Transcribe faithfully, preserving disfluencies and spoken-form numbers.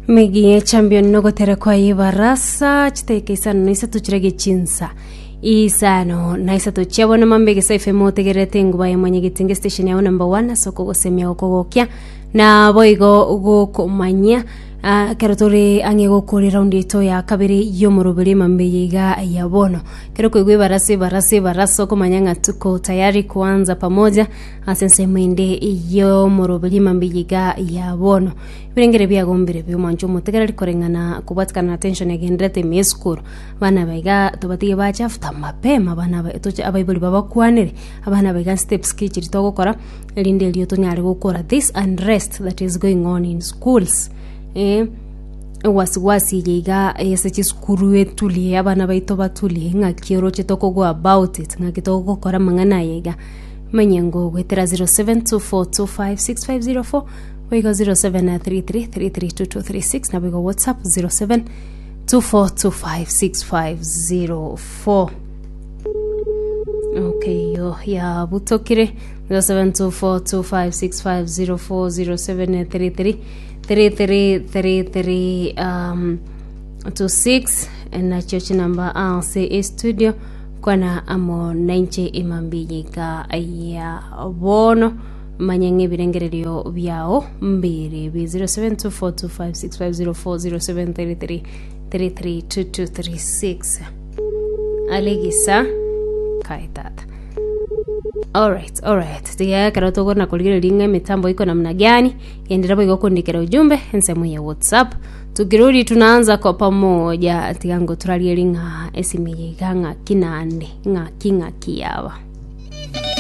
Migi champion nogotera kwa ibarasa chiteke isano na isato chirage chinsa isano na isato chiabona mambe gesa F M otegerete enguba ya mwanyagetinge station yao number one ase okogosemia gokogokia na boigo gokomanyia. Ah, kero tore ang'e gokora eraundi yaito ya kabere y'omoroberi emambe iga ya bono, kero koigwa ebarasa ebarasa ebarasa okomanya ng'a tuko tayari kuanza pamoja ase ensemo ende y'omoroberi emambe iga ya bono. Ebirengere biagombire biomwancho omotegereri koreng'ana kobwatikana na tension egenderete ime esukuru. Abana baiga tobatige bache after mapema abana ba toche abaibori babakwanere abana baiga steps ki chiri togokora erinde erio tonyare gokora this unrest that is going on in schools, eh, ewasiwasi eye iga ase chisukuru etulie abana baito batulie. Ng'aki oroche tokogo about it, ng'aki togokora amang'ana aya iga manye ngo goetera zero seven two four two five six five zero four boigo zero seven three three three three two two three six na boigo WhatsApp zero seven two four two five six five zero four. Okay, yo yabutokire zero seven two four two five six five zero four zero seven three three three three three three um, two six nachio chinamba ase estudio kwana amo nainche emambiyiga ya bono manye ng'ebirengererio biao mbiri bi zero seven two four two five six five zero four zero seven three three three three two two three six alegisa kaitata. Alright, alright. Tiga kero togona kurigereria ng'a emitambo iko namna gani. Endelea boigo kundikira ujumbe ensemo ya WhatsApp. Tukirudi tunaanza kwa pamoja. Tiga ngo turarieri ng'a esimi yiga ng'aki nande ng'aki ng'aki yaba.